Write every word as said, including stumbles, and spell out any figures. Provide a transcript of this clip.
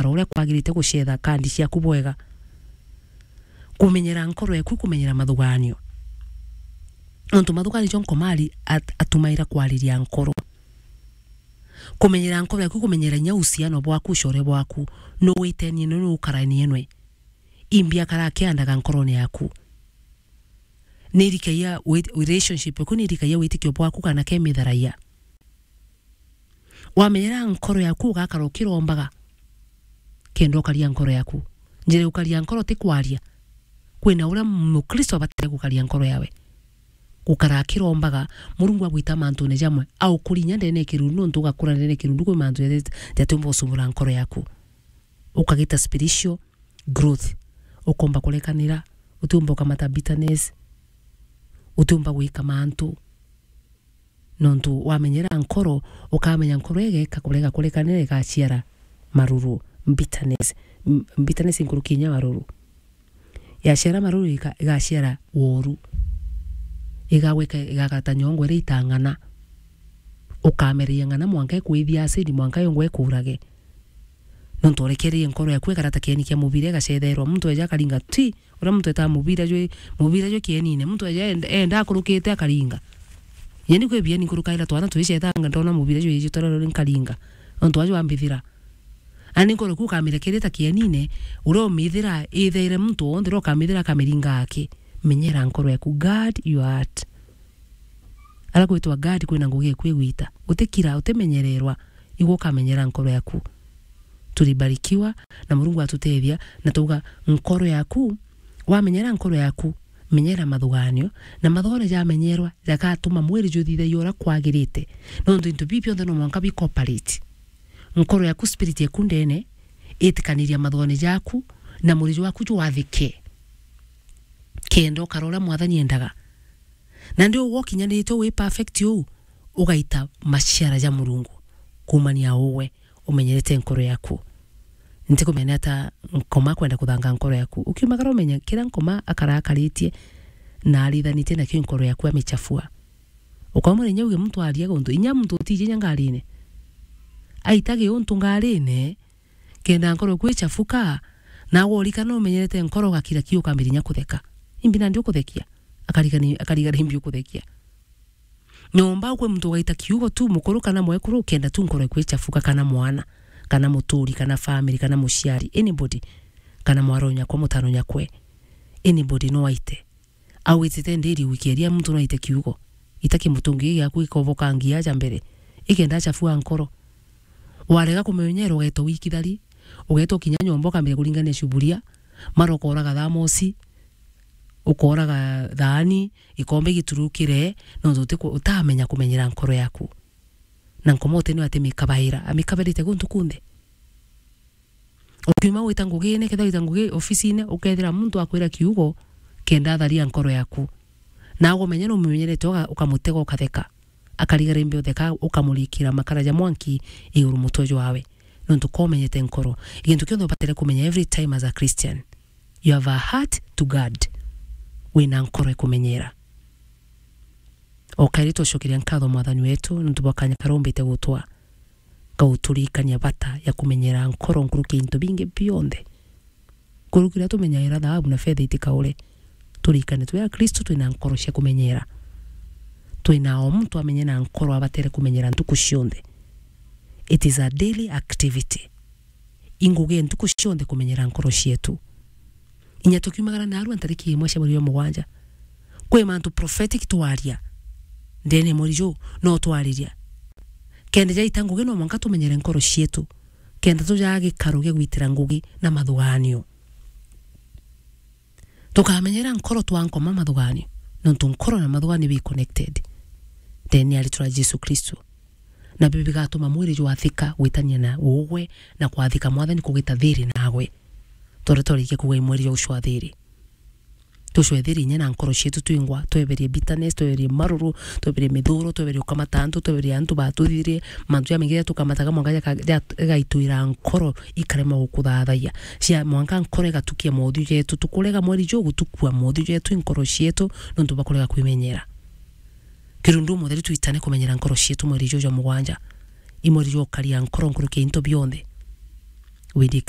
gukara uria kwagirite, gucetha kandi ciaku bwega. Kumenyera nkoro yaku, kumenyera mathuganio. Nontu mathuganio jo Nkoma ari at-, atumaira kwariria nkoro. Kumenyera nkoro yaku, kumenyera inya uhusiano bwaku, ucore bwaku, nu witenie nwe, nu ukaranie nwe. Imbi akara akiandaga nkorone yaku. Ni irikagia wit-, relationship yaku, ni irikagia witikio bwaku kana ke mitharagia. Wamenyera nkoro yaku, ugakara ukirombaga kenda ukaria nkoro yaku. Njira ya ukaria nkoro ti kwaria. Kwina uria Mukristo abatire gukaria nkoro yawe. Gukara akirombaga, Murungu agwita mantune jamwe, aukurinya ndene ya kirundu, nontu ugakura ndene ya kirundu, kwi mantu jati-, jatiumba gucumbura nkoro yaku. Ukagita spiritual growth. Ukomba kurekanira, utiumba ukamata bitterness, utiumba gwika mantu. Nontu wamenyera nkoro, ukamenya nkoro igeka kurega kurekanira, igaciara maruru, bitterness. M-, bitterness nkuruki inya maruru. Yaciara maruru ika-, igaciara woru. Igagwika, igakara ta nyongo iria itang'ana. Ukamereria ng'ana mwanka ikwithia acid, mwanka yongwa ikurage. Nontu urekererie nkoro yaku ikara ta kieni kia mubira, igacetherwa. Muntu eja akaringa ti, uria muntu etaa mubira jwi, mubira jwi kienine. Muntu eja enda, enda akurukite akaringa. Nyeni kwi bieni nkurukaira twana twicetanga, ndona mubira jwi iji twarorori nkaringa. Nontu aju ambithira. Ani nkoro yaku ukamirekeria ta kienine, uria umithira ithaire muntu wonthe uria ukamithira akamiringa aki. Menyera nkoro yaku, guard your heart. Ara kwitwa guard kwina ngugi eku igwita. Utikira, utimenyererwa, igwe ukamenyera nkoro yaku. Tulibarikiwa na Murungu atutethia, na twauga nkoro yaku, wamenyera nkoro yaku, menyera mathuganio, na mathuganio jamenyerwa, jagatuma mwiri juthithagia uria kwagirite. Nontu into bibi bionthe no mwanka bi cooperate. Nkoro yaku, spirit yaku ndene, itikaniria mathuganio jaku, na mwiri jwaku jwathike. Kenda ukara uria Mwathani endaga. Na ndi ugwe ukinyanirite wi perfect uu, ugaita maciara ja Murungu. Kumania ugwe, umenyerete nkoro yaku. Ntikumenya ata Nkoma akwenda kuthanga nkoro yaku. Ukiumagara umenye, kiria Nkoma akara akaritie na arithanitie nakio nkoro yaku amichafua. Ukamwira inya uge muntu aria guntu, inya muntu utiji inya ngarine. Aitage untu ngarine, kenda nkoro kwichafuka, na worikana umenyerete nkoro ugakira ki ukambirinya kutheka. Imbi nandi ukuthekia? Akarigani-, akarigana imbi ukuthekia. Nyomba ukwe muntu ugaita kiugo tu mukuru kana mwekuru, kenda tu nkoro kwichafuka, kana mwana, kana muturi, kana family, kana muciari, anybody, kana mwaro nyakwa, mutano nyakwe, anybody no aite. Au itite ndiri wiki eria muntu no aite kiugo. Ita kimutungi giaku gikobokangia aja mbere. Ikenda achafua nkoro. Warega kumenyera ugeeta wikithari, ugeeta ukinya nyomba ukambia kuringania cuburia, mara ukoraga thamosi, ukoraga thaani, gikombe giturukire, nontu utiku-, utamenya kumenyera nkoro yaku. Na Nkoma uti niwe atimikabaira, amikabairite guntu kunthe. Ukiuma gwita ngugine, kethira wita ngugi ofisine, ukethira muntu akwira kiugo, kenda atharia nkoro yaku. Na agumenya numumenyerete, uga-, ukamutega ukatheka. Akarigara imbi utheka, ukamurikira makara ja mwanki iguru mutwe jwawe. Nontu komenyete nkoro. Gintu kionthe ubatire kumenya every time as a Christian. You have a heart to guard. Wina nkoro ikumenyera. O kairi twacokeria nkatho Mwathani wetu nontu bwa kanya karia umbite gutwa, kauturikania bata ya kumenyera nkoro nkuruki ya into bingi bionthe. Nkuruki uria tumenyaira thaabu na fetha itikaure, turikane twi Akristu twina nkoro cia kumenyera. Twina o muntu amenye na nkoro abatere kumenyera ntuku cionthe. It is a daily activity. Ingugi ntuku cionthe kumenyera nkoro cietu. Inya tukiumagara narua ntariki imwe cia mweri jwa mugwanja, kwi mantu prophetic twaria ndene ya mweri juu, no twariria. Kenda jaita ngugi, no mwanka tumenyere nkoro cietu, kenda tujaa gikaro gia gwitira ngugi na mathuganio. Tukamenyera nkoro twa Nkoma mathuganio, nontu nkoro na mathuganio bi connected. Ndene ya ritwa ria Jesu Kristo. Na biu bigatuma mwiri jwathika gwitania na ugwe na kwathika Mwathani kugita thiri nagwe. Tore twarikia kuuga i mwiri jwa gucwa thiri. Tucwe thiri inya na nkoro cietu twingwa, tweberie bitterness, tweberie maruru, tweberie mithuro, tweberie ukamata antu, tweberie antu batuthirie, mantu jamaingi jaria tukamataga mwanka jaka-, ja-, jagaitwira nkoro ikarema gukuthathayia. Cia mwanka nkoro igatukia mothiu jetu, tukurega mwiri juu gutukua mothiu jetu, i nkoro cietu, nontu bwa kurega kwimenyera. Kirundu Mutheru twitane kumenyera nkoro cietu mweri juu jwa mugwanja. I mweri jwa ukaria nkoro nkuruki ya into bionthe. Willy